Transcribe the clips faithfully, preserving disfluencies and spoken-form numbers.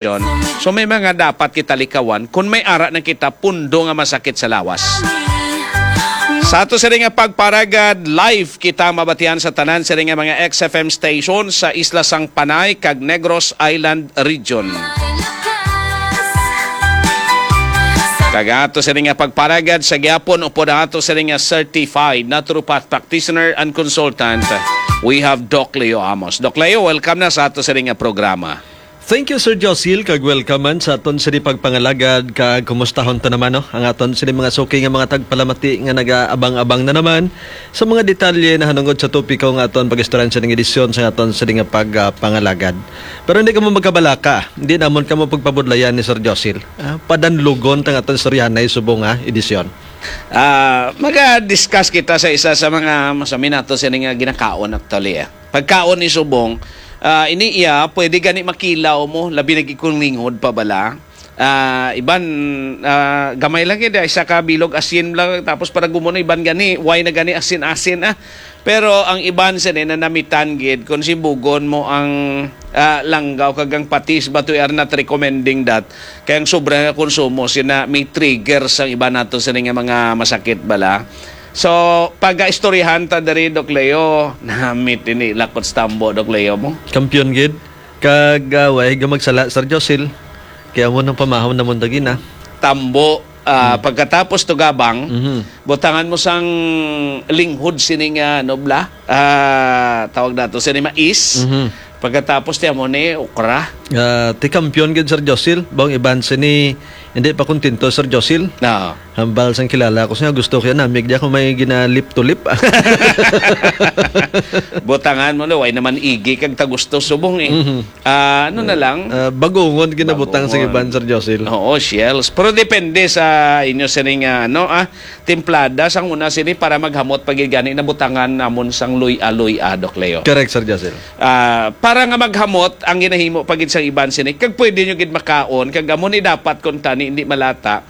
So may mga dapat kita likawan kung may ara na kita pundo nga masakit sa lawas. Sa ato sini nga pagparagad, live kita mabatian sa tanan sini nga mga X F M station sa Isla sang Panay kag Negros Island Region. Kag ato sini nga pagparagad sa gihapon upod ang ato sini nga certified naturopath practitioner and consultant, we have Doc Leo Amos. Doc Leo, welcome na sa ato sini nga programa. Thank you, Sir Josil, kag welcome man sa aton sini pagpangalagad, kag kumustahon ta naman, no, ang aton sini mga suki nga mga tagpalamati nga nagaabang-abang na naman sa mga detalye nahanungod sa topiko nga aton pag-istoryahan sa ning edisyon sa aton sini nga pagpangalagad. Pero hindi kamo magkabalaka, hindi namon kamo pagpabudlayan ni Sir Josil. Ah, padanlugon ta nga aton istoryahanay subong nga edisyon. Ah, maga-discuss kita sa isa sa mga masami nato sini nga ginakaon actually, eh. Pagkaon ni subong, ah, ini iya, pwede gani makilaw mo, labi na gid kung linghod pa bala. Ah, iban, ah, gamay lang gid, isa ka bilog asin lang, tapos para gumuno, iban gani, why na gani asin-asin, ah. Pero ang iban sini nanamitan gid, kung sibugon mo ang, ah, langgaw kag ang patis, but we are not recommending that. Kay ang sobra nga konsumo sina may trigger sa iban nato sini nga mga masakit bala. So, pag-istoryahan ta diri, Doc Leo, namit ini lakot sa tambo, Doc Leo mo. Kampiyon gid. Kag, ah, way ga magsala, Sir Josil. Kaya mo nang pamahon na mo dagi na. Tambo, ah, Mm. pagkatapos tugabang, Mhm. butangan mo sang linghod sini nga, ano bala? Ah, tawag nato sini mais. Mhm. Pagkatapos ti amo ni okra. Ah, ti kampiyon gid, Sir Josil. Bang iban sini, hindi pa kontento, Sir Josil. Oo. Hambal sang kilala ko siya, gusto ko yan, namig di ako may gina-lip to lip. Butangan mo, no? Way naman igi kag tagusto subong, eh. Mhm. Ah, ano na lang? Ah, bagungon ginabutang sa Bagungon. iban, Sir Josil. Oo, shells. Pero depende sa inyo sining, ah, ano, ah, timplada sang una sini para maghamot pa gid gani nabutangan namon sang luy-a-luy-a, Doc Leo. Correct, Sir Josil. Ah, para nga maghamot ang ginahimo pa gid sang iban sini, kag pwede nyo gid makaon, kag amo ni dapat kung tani hindi malata.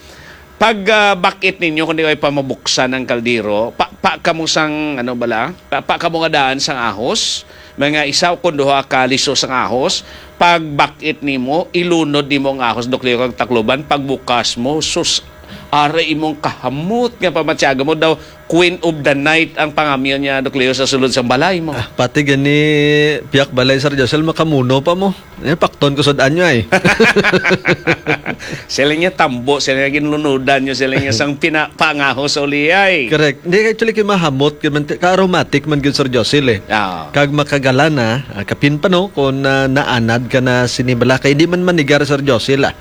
Pag, ah, bak-it ninyo, kung di kayo pa mabuksan ang kaldero, pa, pa kamo sang, ano bala, pa, pa kamo nga daan sang ahos, mga isa o kung duha ka liso sang ahos, pag bak-it nimo, ilunod nimo ang ahos, Doc Leo, kag Tacloban, pagbukas mo, sus, ara imong kahamot nga pamatyaga mo daw, Queen of the Night ang pangamyo niya, Doc Leo, sa sulod sang balay mo. Ah, pati gani piyak balay, Sir Josel, makamuno pa mo. Eh, pakton ko sad anyo ay. Sila niya tambo, sila niya ginlunudan nyo, sila niya sang pina-, pangaho sa uli ay. Correct. Hindi, actually, kay mahamot, kay man, ka-aromatic man gyud, Sir Josel, eh. Ah. Kag makagalana, ah, kapin pa, no, kung, ah, naanad ka na sini bala, kay di man manigar, Sir Josel, ah.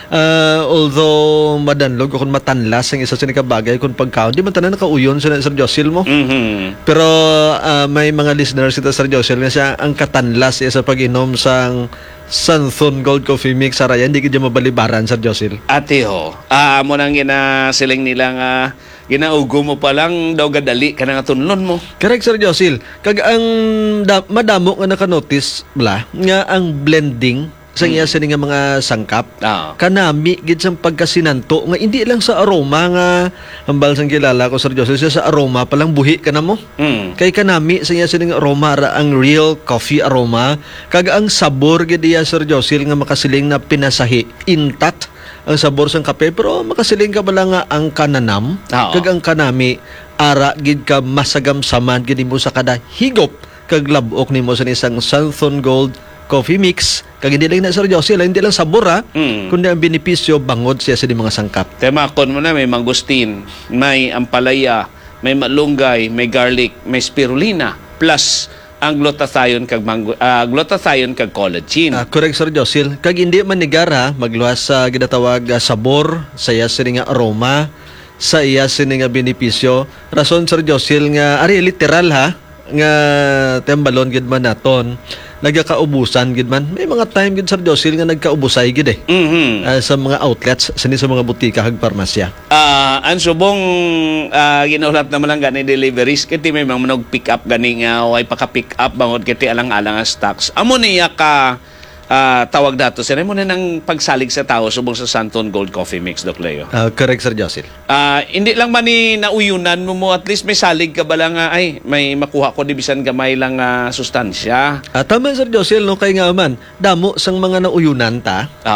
Ah, although madanlog o kung matanlas ang isa sini ka bagay kung pagkaon, di man tanan nakauyon sila, Sir Josil, mo. Mhm. Pero, ah, may mga listeners kita, Sir Josil, nga siya ang katanlas iya sa pag-inom sang Santhon Gold Coffee Mix, sa Raya, hindi gid mabalibaran, Sir Josil. Ate ho, ah, amo nang ginasiling nila nga ginaugo mo pa lang daw gadali ka na nga tunlon mo. Correct, Sir Josil. Kag ang da-, madamo nga nakanotice bala nga ang blending sa iya Mm. sini nga mga sangkap. Ah. Kanami gid sang pagkasinanto nga hindi lang sa aroma nga hambal sang kilala ko, Sir Joseph, siya sa aroma pa lang buhi ka na mo. Mm. Kay kanami sa iya sini nga aroma ra ang real coffee aroma, kag ang sabor gid iya, Sir Joseph, nga makasiling na pinasahi, intact ang sabor sang kape, pero makasiling ka bala nga ang kananam, Oo. kag ang kanami, ara gid ka masagamsaman gid mo sa kada higop kag lab-ok nimo sa isang Santhon Gold Coffee Mix. Kag hindi lang na, Sir Josie, hindi lang sabor, ha, Mm. kundi ang benepisyo bangod siya sa mga sangkap. Temakon mo na, may mangustin, may ampalaya, may malunggay, may garlic, may spirulina, plus ang glutathione kag mango-, ah, glutathione kag collagen. Ah, correct, Sir Josil. Kag hindi man nigar, ha, magluwas sa ginatawag, ah, sabor, sa iya sini nga aroma, sa iya sini nga benepisyo. Rason, Sir Josil, nga ari literal, ha, nga tembalon gid man naton, nagakaubusan gid man. May mga time gid, Sir Josil, nga nagkaubusay gid, eh. Mhm. Ah, sa mga outlets, sini sa mga butika kag parmasya. Ah, ang subong, ah, ginaulat naman lang gani deliveries, kay ti may mga manog pick up gani nga way paka-pick up bangod kay ti alang-alang ang stocks. Amo niya ka ah, tawag dato, sir, mo na nang pagsalig sa tao subong sa Santon Gold Coffee Mix, Doc Leo. Ah, correct, Sir Josil. Ah, hindi lang man ni nauyunan mo mo, at least may salig ka ba lang nga, ay, may makuha ko di bisan gamay lang nga sustansya. Ah, tama, Sir Josil, no? Kay nga man, damo sang mga nauyunan ta. Oo.